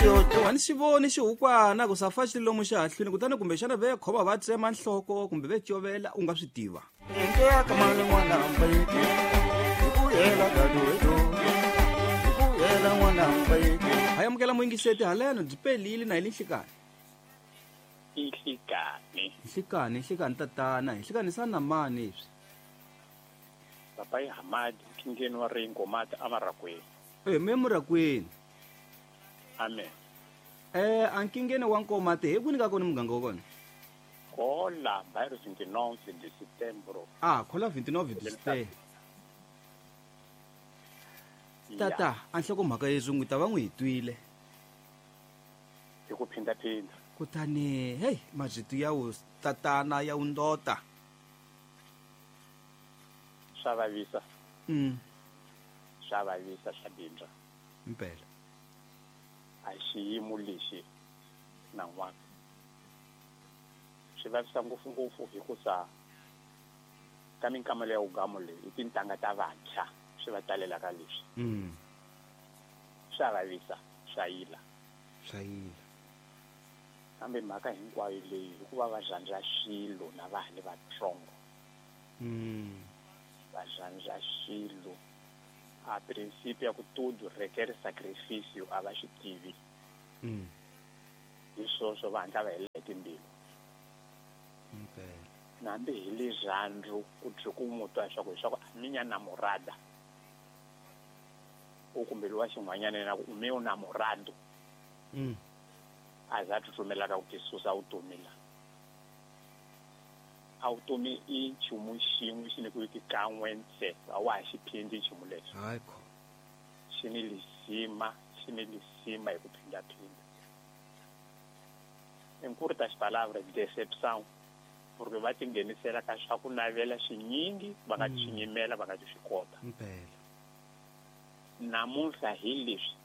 Wani xivoni xihukwana ku safa xi lomu xihahlwini kutani kumbexana ve khoma va tsema nhloko kumbe ve covela u nga swi tiva. Ha amukela muyingiseti haleno byi pelile na hi le nhlikani. Nhlikani. Nhlikani, nhlikani tatana, nhlikani sana mani leswi. Papa i Hamadi, nkingeni wa Ringo mati amarakweni. Eh, me murakweni. Amen. Eh, a nkingeni wa Nkomati hi kwini ka kona muganga wa kona? Kola bairro 29 de setembro. Ah, kola 29 de setembro. Tata, a nhlokomhaka yeswi n'wi ta va n'wi hi twile. Hi ku phindaphinda. Kutani, hey, mazito ya wu tatana ya wu ndota. Swa vavisa. Swa vavisa swa bindza. Impela. A xiyimo lexi na n'wana. Swi vavisa ngopfu-ngopfu hikusa ka minkamelo ya ugamo leyi i tintangha ta vantshwa swi va talelaka leswi. Swa vavisa, swa yila. Swa yila. Kambe mhaka hinkwayo leyi hikuva va rhandza swilo na va ha li vatsongo. Va rhandza swilo. A principio ya ku tudo requer sacrificio a va swi tivi. Hi swoswo va hatla va hela hi timbilu. Nambi hi lirhandzu ku byi ku n'wi twa leswaku leswaku a minha namorada. U kumbe lowa xin'wanyana yena ku u meu namorado. A za tsutsumelaka ku tisusa vutomi la. A vutomi i nchumu xin'we xi nyikiweke kan'we ntse, a wa ha xi phindi nchumu lexo. Hayi kho. Xi ni lisima, xi ni lisima hi ku phindaphinda. Em curtas palavras, decepção, porque va tinghenisela ka swa ku navela swinyingi va nga swi nyimela va nga ti swi kota. Impela. Namuntlha hi leswi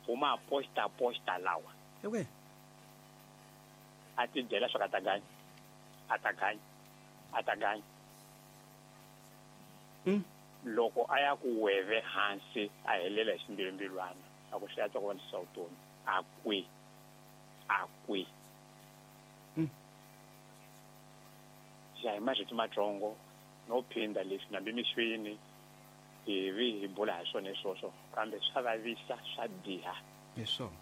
huma aposta aposta lawa. Okay. A ti byela swa ka ta ganya. A ta ganya. A ta ganya. Loko a ya ku weve hansi a helela hi ximbilumbilwana a ku swi antswa ku va ni swa vutomi. A kwi. A kwi. Ya hi marito matsongo no phinda leswi nambi mixweni hi vi hi bula ha swona swoswo kambe swa vavisa swa biha. Hi swona.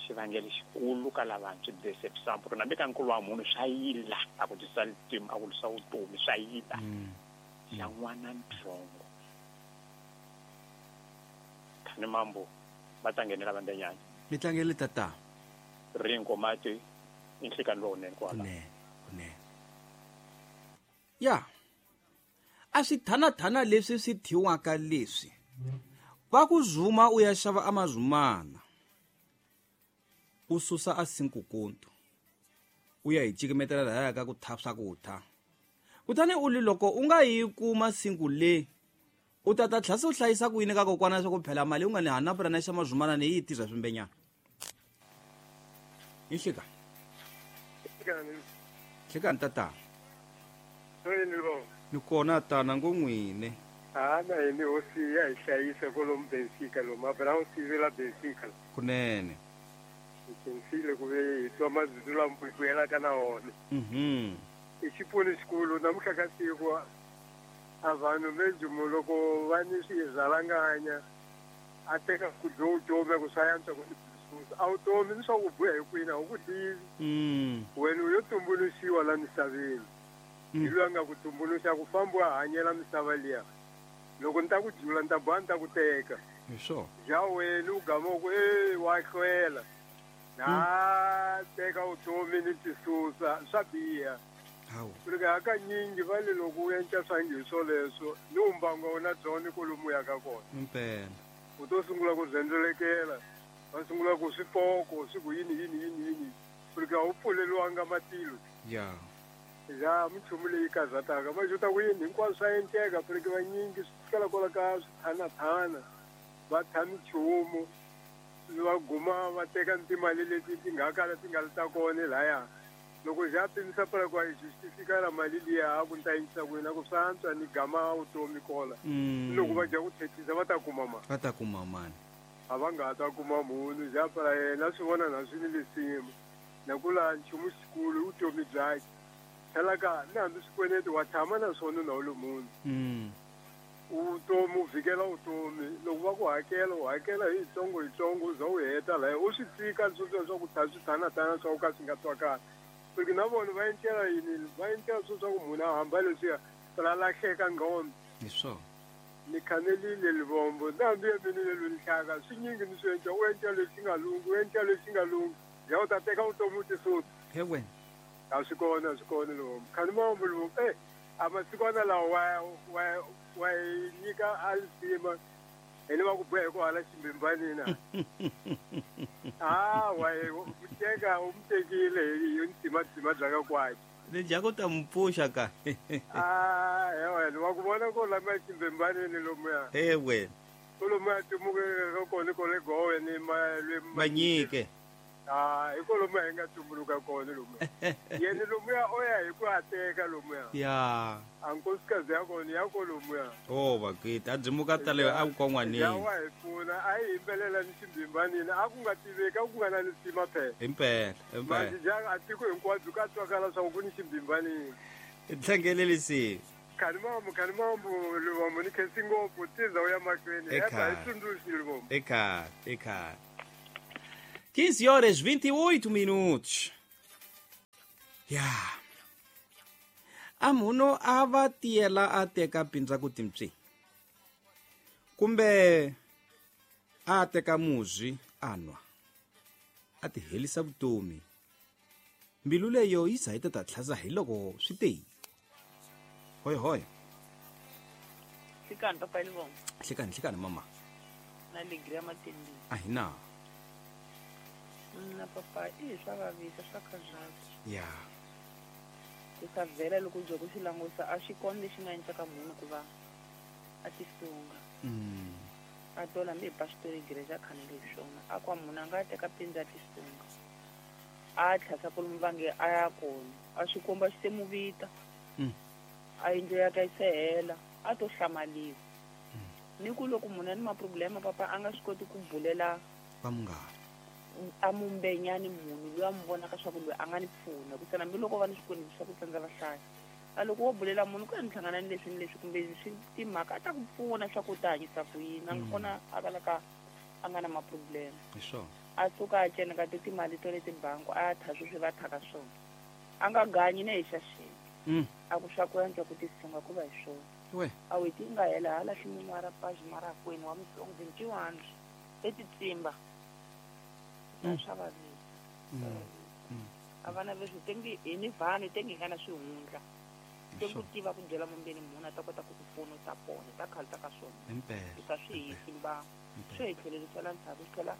Xivangelo xikulu ka lavantshwa deception porque nambi ka nkulu wa munhu swa yila a ku tisa a ku tisa vutomi swa yila. Xa n'wana ntsongo. Khani mambo va ta nghenela vandenyana. Mi tlangele tata. Ringo mati i nhlikani lowunene kwala. Kunene, kunene. Ya. A swi thanathana leswi swi thyiwaka leswi. Va ku zuma u ya xava amazumana. U susa a sinkukuntu. U ya hi cikimetela lahaya ka ku tha swakudya. Kutani u li loko u nga yi kuma sinku le, u ta ta tlhela se u hlayisa ku yini ka kokwana leswaku phela mali u nga ni hanapula na xa mazumana ni yi tirha swimbenyana. Hi nhlikani. Nhlikani. Nhlikani tatana. Yini lo? Ni kona tana ngo n'wini. Ha na hini hosi ya hi hlayisa kwalomu Benfica lomu a Brown la Benfica. Kunene. Hi khensile ku ve hi twa mazulu lama hi vuyelaka na wona. I xipfuno xikulu namuntlha ka siku a vanhu menjumu loko va ni swirhalanganya a teka ku dyo vutomi ku swa yantswa ku susa a vutomi ni swa ku buya hi kwini a wu ku tivi. Wena u yo tumbuluxiwa la misaveni. Hi loyi a nga ku tumbuluxa ku famba u hanyela misava liya. Loko ni ta ku jula ni ta boha ni ta ku teka. Hi swona. Ja wena u gama u ku e wa hlwela. Na teka vutomi ni tisusa swa biha. Hawu. Porque hakanyingi va le loko u endla swa ngi swoleswo ni umbango wa wena byona kwalomu u yaka kona. Impela. U to sungula ku rhendzelekela, va sungula ku swipoko swi ku yini yini yini yini. Porque a wu pfuleriwanga matilo. Ya. Ya minchumu leyi karhataka va xuta ku yini hinkwaswo swa endleka porque vanyingi swi fikela kwala ka swithanathana va tha minchumu va guma va teka ni timali leti ti nga kala ti nga ri ta kona lahaya. Loko ja pimisa pela kwa xi xi fikela mali liya a ku ni ta yingisa ku yini a ku swa antswa ni gama vutomi kola. Loko va dya ku thethisa va ta kuma mali. Va ta kuma mali. A va nga ta kuma munhu japara yena swi vona na swi ni lisimu na ku la nchumu xikulu vutomi byakhe tlhela ka ni hambi swikweleti wa tshama na swona na wu le munhu utomi u vhikela vutomi loko va ku hakela u hakela hi yitsongo yitsongo u za u heta laya u swi tika sweswiya swa ku swi thanatana swa ku ka swi nga twakali porque na vona va endlela yini va endlela swo swa ku munhu a hamba leswiya ra lahleka ngqondo hi swona ni khanelile livombo na hambi ya mina le lwenihlaka swi nyingi ni swi endla u endla lexi nga lungi u endla lexi nga lungi ya u ta teka vutomi u tisusa he wena a swi kona livombo khani mambo livombo a masikwana lawa wa nyika a lisima hi ni va ku boha hi ku hala ximbimbanina a wa teka u mu tekile hi ndzima bya ka kwakhe ni dya ku ta mu pfuxa ka a he wena wa ku vona ko lama ximbimbanini lomuya he wena ko lomuya tumukeke kona ko le gowe ni manyike a hi ko lomuya hi nga tumbuluka kona lomuya yena lomuya o ya hi ku a teka lomuya ya a nkosikazi ya kona ya ko lomuya o vakiti a byimuka taleyo a ku kon'wanini ya wa hi pfuna a hi yimbelela ni ximbimbanini a ku nga tiveki a ku nga na ni sima phela himpela himpela manje a tiko hinkwabyo ka twakala swa ku ni ximbimbanini tlangelelisi khani mambo livombo ni khensi ngopfu tiza u ya mahlweni eka hi tsundzuxi livombo eka 15 horas 28 minutos. Ya. A munhu a va tiyela a teka pindza ku timpyi. Kumbe a teka muzwi a nwa. A ti helisa vutomi. Mbilu leyo yi za yi ta tlhaza hi loko swi te. Hoy hoy. Hlikani papa Livombo. Hlikani mama. Na alegria matendi. A hi na. Na papa i swa vavisa swa khazazi ya ku sa vhela loko bya ku xi langusa a xi kona lexi nga endlaka munhu ku va a tisunga a tola hambi hi pasitori igreja khanele hi swona a kwa munhu a nga teka pindza a tisunga a tlhasa kolomu vange a ya kona a xi komba xi se mu vita a yindlu ya ka yi se hela a to hlamaliwa ni ku loko munhu a ni maproblema papa a nga swi koti ku bulela va munghana a mumbenyani munhu loyi a mu vonaka swa ku loyi a nga ni pfuna ku sana hambiloko va ni swikweleti swa ku tsandza vahlayi a loko wo bulela munhu ku ya ni hlangana ni leswi ni leswi kumbe swi timhaka a ta ku pfuna swa ku u ta hanyisa ku yini a nga kona a kalaka a nga na maproblema a suka a ceneka ti timali to leti bangi a ya tha sweswi va thaka swona a nga ganyi ne hi xaxeni a ku swa ku antswa ku tisunga ku va hi swona a weti yi nga hela ha lahli mun'wara paji mara kwenu wa mutsongo 21 etitsimba swa vavisa a vana leswi tengi hi ni vanhu tengi hi nga na swihundla te ku tiva ku byela mumbeni munhu a ta kota ku ku pfuna u ta pona ta khale ta ka swona u ta swi hisi mbangu swi hi tlhelerisela ndzhaku swi tlhela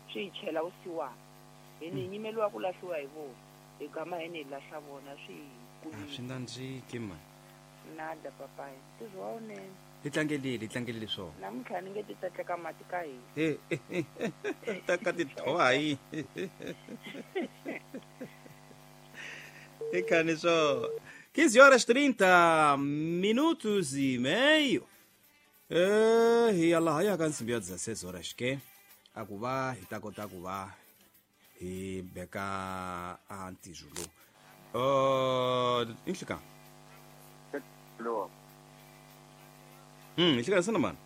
swi hi chela vusiwana hi ni nyimeliwa ku lahliwa hi vona hi gama hi ni hi lahla vona swi hi kulile swi nandziki mani nada papayi ntirho wa wunene hi tlangelile swona namuntlha ni nge ti tsatleka mati ka hina ta ka tithowa hi ikhani swo 15 horas 30 minutos e meio hi ya laha ya ka nsimbi ya 16 horas ke a ku va hi ta kota ku va hi beka a ntirho lowu inhlika inhlika sana mani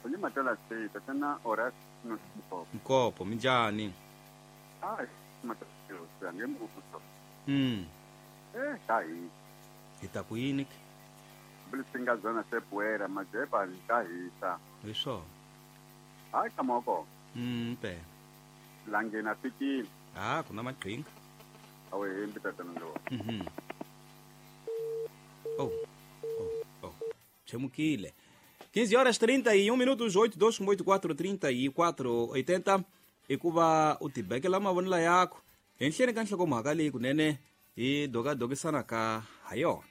uli matala sita tena horas no nkopo minjhani ah matala ngembuso hi hi ta ku yini blisinga zona sepoera majepa ta hisa hi swona hayi kamoko mpe langena fikile ah kuna maqhinga awe hembi tatana lo oh chemukile 15 horas 31 minutos 8 2 8 4 34 80 hikuva u tibekela mavonelo yakho henhleni ka nhlokomhaka leyi kunene hi dokadokisana ka ha yona.